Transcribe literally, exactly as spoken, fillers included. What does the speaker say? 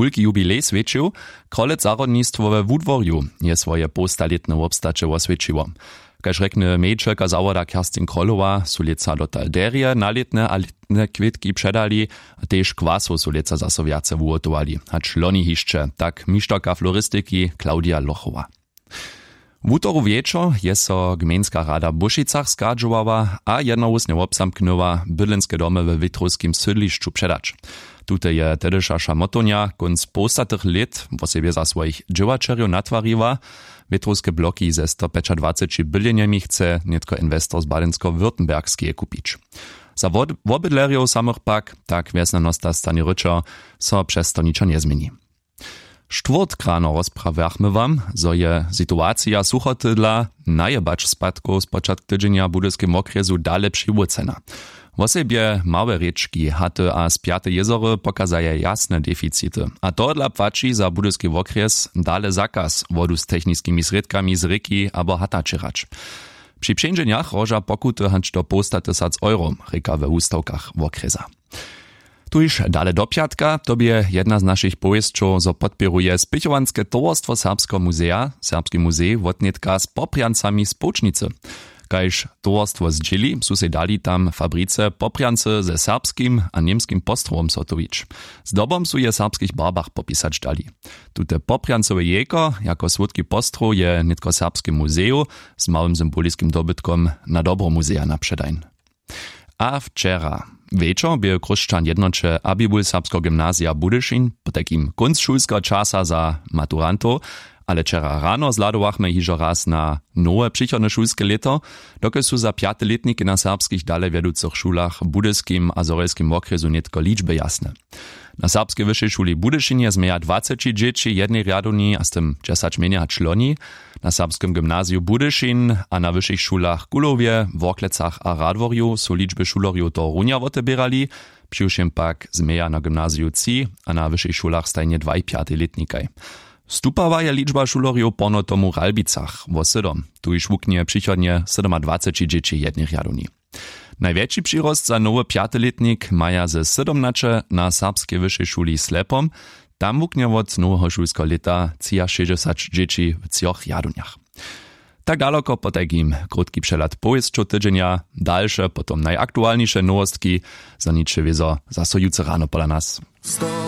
wulki jubilej swjećił. Krolec zahrodnistwo we wudworju je swoje połstalětne wobstaće woswjećiło. Kaž rjekny mejitelka zawoda kerstin krolowa su lětsa dotal derje nalětne a lětne kwětki předali. A tež kwasow su lětsa zaso wjace wuhotowali hač loni hišće, tak mišterka floristiki claudia lochowa. Wutoru wječor je so gmejnska rada w bušicach schadźowała a jednohłósnje wobzamknyła bydlenske domy we wětrowskim sydlišću předać. Tute je tehdyša šamotownja kónc połstatych lět wosebje za swojich dźěłaćerjow natwariła. Wětrowske bloki ze stopjećadwaceći bydlenjemi chce nětko inwestor z badensko-württembergskeje kupić. Za wobydlerjow samych pak, tak wjesnjanosta stanje ryćo, so přez to ničo njezměni. Štwórtk rano rozprawjachmy wam, zo je situacija suchotydla najebać spadkow spočatk tydźenja w budyskim wokrjesu dale přiwócena. Wosebje małe rěčki haty a spjate jězory pokazaja jasne deficity a tohodla płaći za budyski wokrjes dale zakaz wodu z techniskimi srědkami z rěki abo hata ćěrać. Při přeńdźenjach hroža pokuty hač do połsta tysac euro, rěka we wustawkach wokrjesa. Tuž dale do pjatka to bě jedna z našich powěsćow zo podpěruje spěchowanske towarstwo serbskeho muzeja serbski muzej wotnětka z poprjancami z połčnicy. Kaž towarstwo zdźěli su sej dali tam fabrice poprjancy ze serbskim a němskim postrowom zhotowić. Zdobom su je w serbskich barbach popisać dali. Tute poprjancowe jejko jako słódki postrow je nětko w serbskim muzeju z małym symboliskim dobytkom na dobro muzeja na předajn. A wčera wječor bě chróšćan jednoće abibul serbskeho gymnazija budyšin potajkim kónc šulskeho časa za maturantow. Ale wčera rano zhladowachmy hižo raz na nowe přichodne šulske lěto, dokelž su za pjate lětniki na serbskich dalewjeducych šulach w budyskim a zhorjelskim wokrjesu nětko ličby jasne. Na serbskej wyšej šuli w budyšinje změja dwaceći dźěći w jednej rjadownji a z tym dźesać mjenje hač loni. Na serbskem gymnaziju budyšin a na wyšich šulach w kulowje worklecach a radworju su ličby šulerjow tohorunja woteběrali. Přiwšěm pak změja na gymnaziju tři a na wyšich šulach stajnje dwaj pjatej lětnikaj. Stupała je ličba šulerjow porno tomu w ralbicach wo sydom. Tuž wuknje přichodnje sydomadwaceći dźěći w jednej rjadownji. Najwjetši přirost za nowy pjaty lětnik maja ze sydomnaće na serbskej wyšej šuli slepom. Tam wuknje wot noweho šulskeho lěta třiašěsćdźesać dźěći w třoch rjadownjach. Tak daloko potajkim krótki přehlad powěsćow tydźenja. Dalše potom najaktualniše nowostki zaniče wězo zaso jutře rano pola nas.